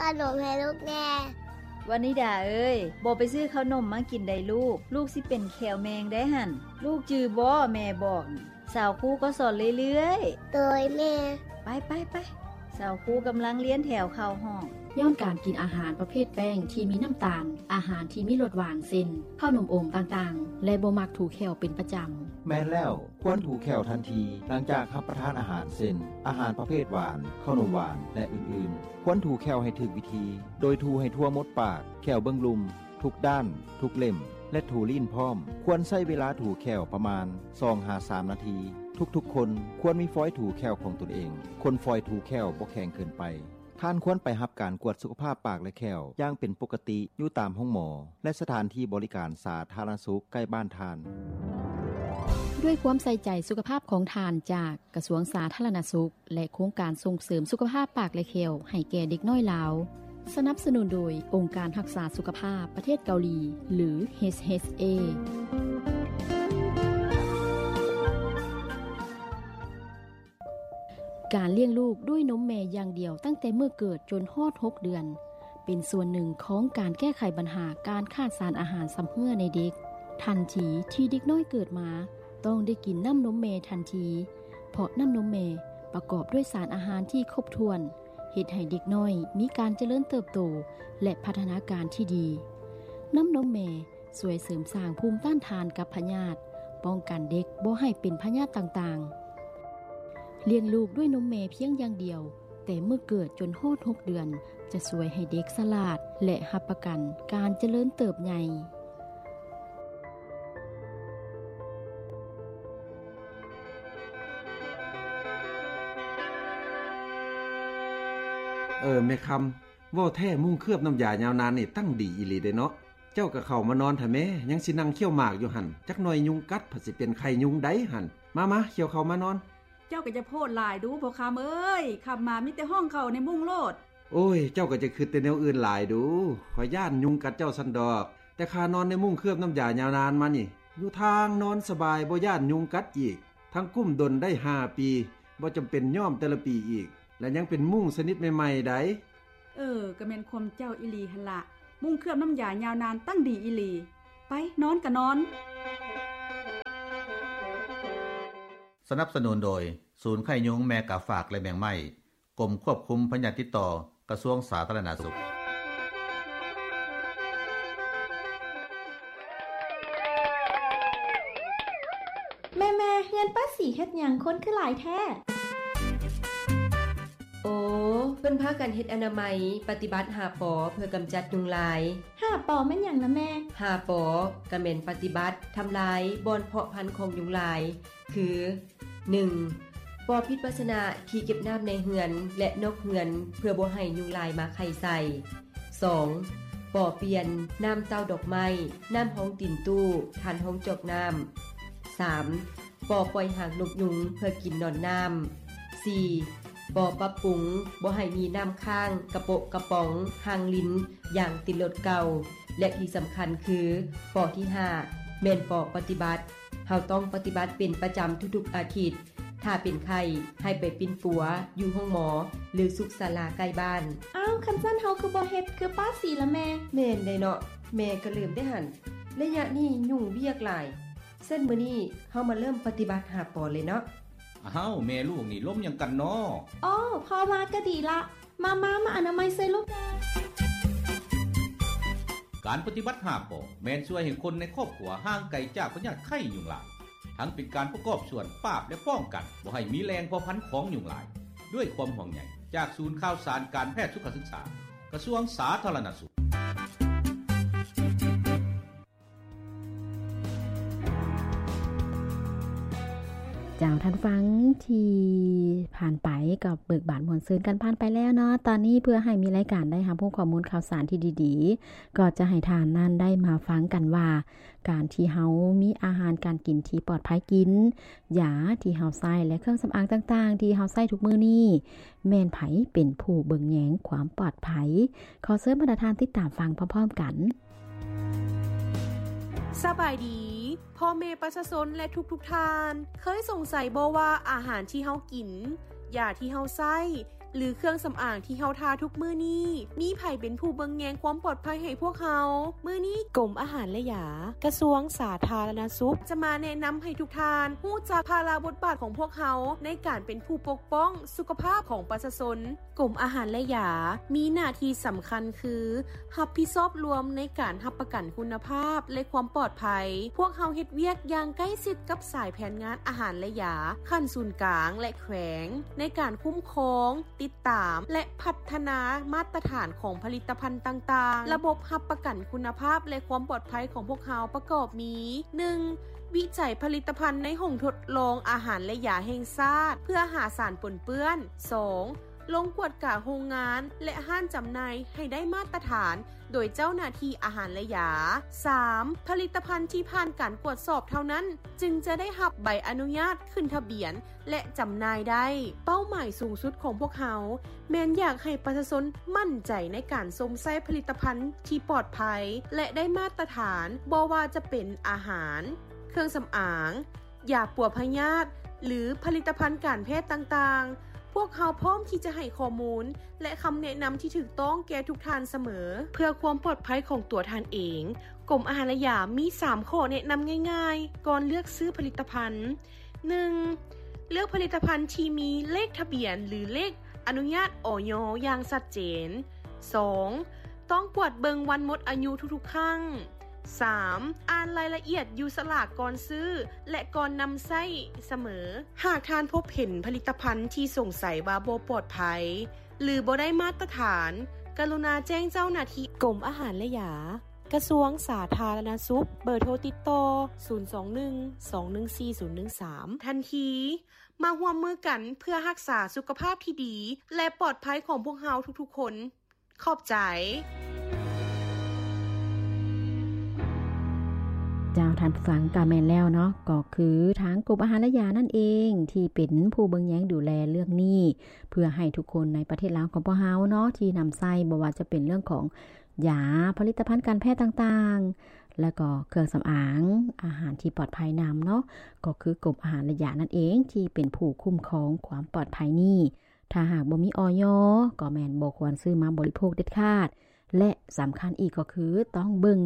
ຂະໜົມໃຫ້ລູກແດ່. ວານິດາເອີຍ, ບໍ່ໄປຊື້ເຂົ້າໜົມມາກິນໃດລູກ, ລູກຊິເປັນແຂ້ວແມງໄດຫັ້ນ. ລູກຈື່ບໍ່ ແມ່ບອກ. ສາວຄູກໍສອນເລື້ອຍໆ. ໂດຍແມ່. ໄປໆໆ. ສາວຄູກຳລັງລຽນແຖວເຂົ້າຫ້ອງ. ຍ້ອນການກິນອາຫານປະເພດແປ້ງທີ່ມີນ້ຳຕານ, ອາຫານທີ່ມີລົດຫວານ ເຊັ່ນ ເຂົ້າໜົມອົມຕ່າງໆ ແລະ ບໍ່ມັກຖູແຂ້ວເປັນປະຈຳ. ແມ່ນແລ້ວ, ຄວນຖູແຂ້ວທັນທີຫຼັງຈາກຮັບປະທານອາຫານ ເຊັ່ນ ອາຫານປະເພດຫວານ, ເຂົ້າໜົມຫວານ ແລະ ອື່ນໆ. ຄວນຖູແຂ້ວໃຫ້ຖືກວິທີ, ໂດຍຖູໃຫ້ທົ່ວໝົດປາກ, ແຂ້ວເບື້ອງລຸ່ມ, ທຸກດ້ານ, ທຸກເຫຼັ້ມ ແລະ ຖູລີ້ນພ້ອມ. ຄວນໃຊ້ເວລາຖູແຂ້ວປະມານສອງຫາສາມນາທີ. ທຸກໆຄົນຄວນມີຟອຍຖູແຂ້ວຂອງຕົນເອງ. ຄົນຟອຍຖູແຂ້ວບໍ່ແຂງເກີນໄປ. ທ່ານຄວນໄປຮັບການກວດສຸຂະພາບປາກ ແລະ ແຂ້ວຢ່າງເປັນປົກກະຕິຢູ່ຕາມໂຮງໝໍ ແລະ ສະຖານທີ່ບໍລິການສາທາລະນະສຸກໃກ້ບ້ານທ່ານ. ດ້ວຍຄວາມໃສ່ໃຈສຸຂະພາບຂອງທ່ານຈາກກະຊວງສາທາລະນະສຸກ ແລະ ໂຄງການສົ່ງເສີມສຸຂະພາບປາກ ແລະ ແຂ້ວໃຫ້ແກ່ເດັກນ້ອຍລາວ, ສະໜັບສະໜູນໂດຍອົງການຮັກສາສຸຂະພາບປະເທດເກົາຫຼີ ຫຼື ເອດເອສເອ. ການລ້ຽງລູກດ້ວຍນົມແມ່ຢ່າງດຽວຕັ້ງແຕ່ເມື່ອເກີດຈົນຮອດຫົກເດືອນ ເປັນສ່ວນໜຶ່ງຂອງການແກ້ໄຂບັນຫາການຂາດສານອາຫານຊຳເຮື້ອໃນເດັກ. ທັນທີທີ່ເດັກນ້ອຍເກີດມາ, ຕ້ອງໄດ້ກິນນ້ຳນົມແມ່ທັນທີ, ເພາະນ້ຳນົມແມ່ປະກອບດ້ວຍສານອາຫານທີ່ຄົບຖ້ວນ, ເຮັດໃຫ້ເດັກນ້ອຍມີການຈະເລີນເຕີບໂຕ ແລະ ພັດທະນາການທີ່ດີ. ນ້ຳນົມແມ່ ຊ່ວຍເສີມສ້າງພູມຕ້ານທານກັບພະຍາດ, ປ້ອງກັນເດັກບໍ່ໃຫ້ເປັນພະຍາດຕ່າງໆ. ລ້ຽງລູກດ້ວຍນົມແມ່ພຽງຢ່າງດຽວ, ແຕ່ເມື່ອເກີດຈົນຮອດຫົກເດືອນ, ຈະຊ່ວຍໃຫ້ເດັກສະຫຼາດ ແລະ ຮັບປະກັນການຈະເລີນເຕີບໃຫຍ່. ເອີ ແມ່ຄຳ, ເວົ້າແທ້ ມຸ້ງເຄືອບນ້ຳຢາຍາວນານນີ້ຕັ້ງດີອີ່ຫຼີເດ້ເນາະ. ເຈົ້າກໍເຂົ້າມານອນແທ້ແມ້, ຍັງຊິນັ່ງຄ້ຽວໝາກຢູ່ຫັ້ນ, ຈັກໜ່ອຍຍຸງກັດ ພັດຊິເປັນໄຂ້ຍຸງໃດຫັ້ນ. ມາໆ ຂ້ຽວເຂົ້າມານອນ. ເຈົ້າກໍຢ່າໂພດຫຼາຍດູພໍ່ຄຳເອີຍ, ຄ່ຳມາມີແຕ່ຮ້ອງເຂົ້າໃນມຸ້ງໂລດ. ໂອ້ຍ ເຈົ້າກໍຢ່າຄິດແຕ່ແນວອື່ນຫຼາຍດູ, ຂ້ອຍຢ້ານຍຸງກັດເຈົ້າຊັ້ນດອກ. ແຕ່ຂ້ານອນໃນມຸ້ງເຄືອບນ້ຳຢາຍາວນານມານີ້, ຢູ່ທາງນອນສະບາຍ ບໍ່ຢ້ານຍຸງກັດອີກ. ທັງກຸ້ມດົນໄດ້ຫ້າປີ, ບໍ່ຈຳເປັນຍ້ອມແຕ່ລະປີອີກ, ແລະ ຍັງເປັນມຸ້ງຊະນິດໃໝ່ໆໃດ. ເອີ ກໍແມ່ນຄວາມເຈົ້າອີ່ຫຼີຫັ້ນລະ, ມຸ້ງເຄືອບນ້ຳຢາຍາວນານຕັ້ງດີອີ່ຫຼີ. ໄປ ນອນກໍນອນ. ສະໜັບສະໜູນໂດຍ ສູນໄຂ້ຍຸງ ແມ່ກາຝາກ ແລະ ແມງໄມ້, ກົມຄວບຄຸມພະຍາດຕິດຕໍ່ ກະຊວງສາທາລະນະສຸກ. ແມ່ໆ ເຮືອນປ້າສີເຮັດຫຍັງຄົນຄືຫຼາຍແທ້? ໂອ ເພິ່ນພາກັນເຮັດອະນາໄມ ປະຕິບັດຫ້າ ປ ເພື່ອກຳຈັດຍຸງລາຍ. ຫ້າ ປ ແມ່ນຫຍັງນະແມ່? ຫ້າ ປ ກະແມ່ນປະຕິບັດທຳລາຍບ່ອນເພາະພັນຂອງຍຸງລາຍ ຄື ໜຶ່ງ ປໍປິດພາຊະນະທີ່ເກັບນ້ຳໃນເຮືອນ ແລະ ນອກເຮືອນ ເພື່ອບໍ່ໃຫ້ຍຸງລາຍມາໄຂ່ໃສ່. ສອງ ປໍປ່ຽນນ້ຳເຕົ້າດອກໄມ້, ນ້ຳຮອງຕີນຕູ້, ທານຮອງຈອກນ້ຳ. ສາມ ປໍປ່ອຍຫາງນົກຍຸງເພື່ອກິນໜອນນ້ຳ. ສີ່ ປໍປັບປຸງບໍ່ໃຫ້ມີນ້ຳຄ້າງກະໂປະກະປອງ, ຮ່າງລິນ, ຢາງຕີນລົດເກົ່າ ແລະ ທີ່ສຳຄັນຄື ປໍທີຫ້າ ແມ່ນປໍປະຕິບັດ. ເຮົາຕ້ອງປະຕິບັດເປັນປະຈຳທຸກໆອາທິດ. ຖ້າເປັນໄຂ້ ໃຫ້ໄປປິ່ນປົວຢູ່ໂຮງໝໍ ຫຼື ສຸກສາລາໃກ້ບ້ານ. ອ້າວ ຄັນຊັ້ນເຮົາຄືບໍ່ເຮັດຄືປ້າສີລະແມ່? ແມ່ນໄດ໋ເນາະ, ແມ່ກໍລືມໄດ້ຫັ້ນ. ໄລຍະນີ້ຫຍຸ້ງວຽກຫຼາຍ. ຊັ້ນມື້ນີ້ເຮົາມາເລີ່ມປະຕິບັດຫ້າ ປ ເລີຍເນາະ. ອ້າວ ແມ່ລູກນີ້ລົມຫຍັງກັນນໍ? ອໍ ພໍ່ມາກໍດີລະ. ມາ ມາ ມາອະນາໄມໃສ່ລູກແດ່. ການປະຕິບັດຫ້າ ປ ແມ່ນຊ່ວຍໃຫ້ຄົນໃນຄອບຄົວຫ່າງໄກຈາກພະຍາດໄຂ້ຍຸງລາຍ, ທັງເປັນການປະກອບສ່ວນປາບ ແລະ ປ້ອງກັນບໍ່ໃຫ້ມີແຫຼ່ງເພາະພັນຂອງຍຸງລາຍ. ດ້ວຍຄວາມຫ່ວງໃຍຈາກສູນຂ່າວສານການແພດສຸຂະສຶກສາ, ກະຊວງສາທາລະນະສຸກ. ເຈົ້າ ທ່ານຜູ້ຟັງທີ່ຜ່ານໄປກໍເບີກບານມ່ວນຊື່ນກັນຜ່ານໄປແລ້ວເນາະ. ຕອນນີ້ເພື່ອໃຫ້ມີລາຍການໄດ້ຮັບຮູ້ຂໍ້ມູນຂ່າວສານທີ່ດີໆ, ກໍຈະໃຫ້ທ່ານນັ້ນໄດ້ມາຟັງກັນວ່າ ການທີ່ເຮົາມີອາຫານການກິນທີ່ປອດໄພກິນ, ຢາທີ່ເຮົາໃຊ້ ແລະ ເຄື່ອງສຳອາງຕ່າງໆທີ່ເຮົາໃຊ້ທຸກມື້ນີ້ ແມ່ນໃຜເປັນຜູ້ເບິ່ງແຍງຄວາມປອດໄພ? ຂໍເຊີນບັນດາທ່ານຕິດຕາມຟັງພ້ອມໆກັນ. ສະບາຍດີ ພໍ່ແມ່ປະຊາຊົນ ແລະ ທຸກໆທ່ານ, ເຄີຍສົງໄສບໍ່ວ່າອາຫານທີ່ເຮົາກິນ, ຢາທີ່ເຮົາໃຊ້ ຫຼືເຄື່ອງສຳອາງທີ່ເຮົາທາທຸກມື້ນີ້? ມີໃຜເປັນຜູ້ເບິ່ງແຍງຄວາມປອດໄພໃຫ້ພວກເຮົາ? ມື້ນີ້ກົມອາຫານ ແລະ ຢາ ກະຊວງສາທາລະນະສຸກ ຈະມາແນະນຳໃຫ້ທຸກທ່ານຮູ້ຈັກພາລະບົດບາດຂອງພວກເຮົາໃນການເປັນຜູ້ປົກປ້ອງສຸຂະພາບຂອງປະຊາຊົນ. ກົມອາຫານ ແລະ ຢາ ມີໜ້າທີ່ສຳຄັນຄື ຮັບຜິດຊອບລວມໃນການຮັບປະກັນຄຸນນະພາບ ແລະ ຄວາມປອດໄພ. ພວກເຮົາເຮັດວຽກຢ່າງໃກ້ຊິດກັບສາຍແຜນງານອາຫານ ແລະ ຢາ ຂັ້ນສູນກາງ ແລະ ແຂວງ ໃນການຄຸ້ມຄອງ, ຕິດຕາມ ແລະ ພັດທະນາມາດຕະຖານຂອງຜະລິດຕະພັນຕ່າງໆ. ລະບົບຮັບປະກັນຄຸນນະພາບ ແລະ ຄວາມປອດໄພຂອງພວກເຮົາປະກອບມີ ໜຶ່ງ ວິໄຈຜະລິດຕະພັນໃນຫ້ອງທົດລອງອາຫານ ແລະ ຢາແຫ່ງຊາດ ເພື່ອຫາສານປົນເປື້ອນ. ສອງ ລົງກວດກາໂຮງງານ ແລະ ຮ້ານຈຳໜ່າຍໃຫ້ໄດ້ມາດຕະຖານໂດຍເຈົ້າໜ້າທີ່ອາຫານ ແລະ ຢາ. ສາມ ຜະລິດຕະພັນທີ່ຜ່ານການກວດສອບເທົ່ານັ້ນ ຈຶ່ງຈະໄດ້ຮັບໃບອະນຸຍາດຂຶ້ນທະບຽນ ແລະ ຈຳໜ່າຍໄດ້. ເປົ້າໝາຍສູງສຸດຂອງພວກເຮົາ ແມ່ນຢາກໃຫ້ປະຊາຊົນໝັ້ນໃຈໃນການຊົມໃຊ້ຜະລິດຕະພັນທີ່ປອດໄພ ແລະ ໄດ້ມາດຕະຖານ, ບໍ່ວ່າຈະເປັນອາຫານ, ເຄື່ອງສຳອາງ, ຢາປົວພະຍາດ ຫຼື ຜະລິດຕະພັນການແພດຕ່າງໆ. ພວກເຮົາພ້ອມທີ່ຈະໃຫ້ຂໍ້ມູນ ແລະ ຄຳແນະນຳທີ່ຖືກຕ້ອງແກ່ທຸກທ່ານສະເໝີ ເພື່ອຄວາມປອດໄພຂອງຕົວທ່ານເອງ. ກົມອາຫານ ແລະ ຢາມີສາມຂໍ້ແນະນຳງ່າຍໆ ກ່ອນເລືອກຊື້ຜະລິດຕະພັນ. ໜຶ່ງ ເລືອກຜະລິດຕະພັນທີ່ມີເລກທະບຽນ ຫຼື ເລກອະນຸຍາດ ອຢ ຢ່າງຊັດເຈນ. ສອງ ຕ້ອງກວດເບິ່ງວັນໝົດອາຍຸທຸກໆຄັ້ງ. ສາມ ອ່ານລາຍລະອຽດຢູ່ສະຫຼາກກ່ອນຊື້ ແລະ ກ່ອນນຳໃຊ້ສະເໝີ. ຫາກທ່ານພົບເຫັນຜະລິດຕະພັນທີ່ສົງໄສວ່າບໍ່ປອດໄພ ຫຼື ບໍ່ໄດ້ມາດຕະຖານ, ກະລຸນາແຈ້ງເຈົ້າໜ້າທີ່. ກົມອາຫານ ແລະ ຢາ ກະຊວງສາທາລະນະສຸກ, ເບີໂທຕິດຕໍ່ ສູນສອງໜຶ່ງ ສອງໜຶ່ງສີ່ ສູນໜຶ່ງສາມ ທັນທີ. ມາຮ່ວມມືກັນເພື່ອຮັກສາສຸຂະພາບທີ່ດີ ແລະ ປອດໄພຂອງພວກເຮົາທຸກໆຄົນ. ຂອບໃຈ. ເຈົ້າ ທ່ານຜູ້ຟັງ, ກໍແມ່ນແລ້ວເນາະ, ກໍຄືທາງກົມອາຫານ ແລະ ຢານັ້ນເອງ ທີ່ເປັນຜູ້ເບິ່ງແຍງດູແລເລື່ອງນີ້ ເພື່ອໃຫ້ທຸກຄົນໃນປະເທດລາວຂອງພວກເຮົາເນາະ ທີ່ນຳໃຊ້, ບໍ່ວ່າຈະເປັນເລື່ອງຂອງຢາ, ຜະລິດຕະພັນການແພດຕ່າງໆ ແລະ ກໍເຄື່ອງສຳອາງ, ອາຫານທີ່ປອດໄພນຳເນາະ, ກໍຄືກົມອາຫານ ແລະ ຢານັ້ນເອງ ທີ່ເປັນຜູ້ຄຸ້ມຄອງຄວາມປອດໄພນີ້. ຖ້າຫາກບໍ່ມີ ອຢ ກໍແມ່ນບໍ່ຄວນຊື້ມາບໍລິໂພກເດັດຂາດ ແລະ ສຳຄັນອີກກໍຄືຕ້ອງເບິ່ງ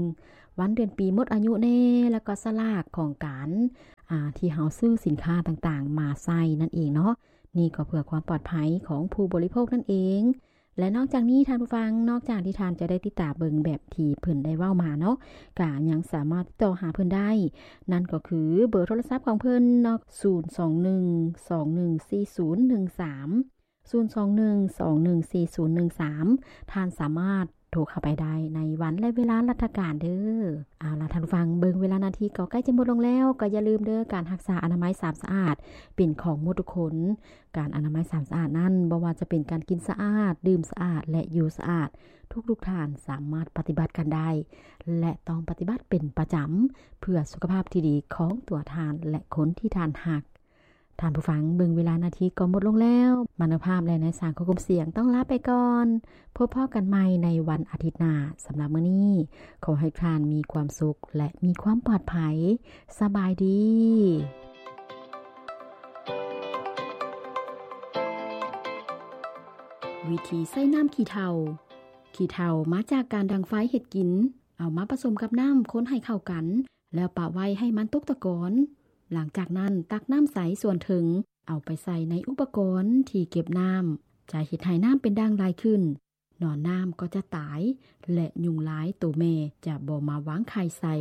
ວັນເດືອນປີໝົດອາຍຸແດ່ ແລ້ວກໍສະຫຼາກຂອງການ ອາ ທີ່ເຮົາຊື້ສິນຄ້າຕ່າງໆມາໃຊ້ນັ້ນເອງເນາະ. ນີ້ກໍເພື່ອຄວາມປອດໄພຂອງຜູ້ບໍລິໂພກນັ້ນເອງ. ແລະ ນອກຈາກນີ້ທ່ານຜູ້ຟັງ, ນອກຈາກທີ່ທ່ານຈະໄດ້ຕິດຕາມເບິ່ງແບບທີ່ເພິ່ນໄດ້ເວົ້າມາເນາະ, ກະຍັງສາມາດຕິດຕໍ່ຫາເພິ່ນໄດ້, ນັ້ນກໍຄືເບີໂທລະສັບຂອງເພິ່ນເນາະ, ສູນສອງໜຶ່ງ ສອງໜຶ່ງສີ່ ສູນໜຶ່ງສາມ ສູນສອງໜຶ່ງ ສອງໜຶ່ງສີ່ ສູນໜຶ່ງສາມ ທ່ານສາມາດໂທເຂົ້າໄປໄດ້ໃນວັນ ແລະ ເວລາລັດຖະການເດີ້. ເອົາລະທ່ານຜູ້ຟັງ, ເບິ່ງເວລານາທີກໍໃກ້ຈະໝົດລົງແລ້ວ, ກໍຢ່າລືມເດີ້, ການຮັກສາອະນາໄມສາມສະອາດເປັນຂອງໝົດທຸກຄົນ. ການອະນາໄມສາມສະອາດນັ້ນ ບໍ່ວ່າຈະເປັນການກິນສະອາດ, ດື່ມສະອາດ ແລະ ຢູ່ສະອາດ, ທຸກໆທ່ານສາມາດປະຕິບັດກັນໄດ້ ແລະ ຕ້ອງປະຕິບັດເປັນປະຈຳ ເພື່ອສຸຂະພາບທີ່ດີຂອງຕົວທ່ານ ແລະ ຄົນທີ່ທ່ານຮັກ. ທ່ານຜູ້ຟັງ, ເບິ່ງເວລານາທີກໍໝົດລົງແລ້ວ. ມານຸພາບ ແລະ ນາຍສາງ ຄວບຄຸມສຽງ ຕ້ອງລາໄປກ່ອນ. ພົບພໍ້ກັນໃໝ່ໃນວັນອາທິດໜ້າ. ສຳລັບມື້ນີ້, ຂໍໃຫ້ທ່ານມີຄວາມສຸກ ແລະ ມີຄວາມປອດໄພ. ສະບາຍດີ. ວິທີໃຊ້ນ້ຳຂີ້ເຖົ້າ. ຂີ້ເຖົ້າມາຈາກການດັງໄຟເຮັດກິນ. ເອົາມາປະສົມກັບນ້ຳ, ຄົນໃຫ້ເຂົ້າກັນ. ແລ້ວປະໄວ້ໃຫ້ມັນຕົກຕະກອນ. ຫຼັງຈາກນັ້ນຕັກນ້ຳໃສສ່ວນເທິງ ເອົາໄປໃສ່ໃນອຸປະກອນທີ່ເກັບນ້ຳ. ຈະເຮັດໃຫ້ນ້ຳເປັນດ່າງຫຼາຍຂຶ້ນ. ໜອນນ້ຳກໍຈະຕາຍ ແລະ ຍຸງລາຍໂຕແມ່ຈະບໍ່ມາວາງໄຂ່ໃສ່.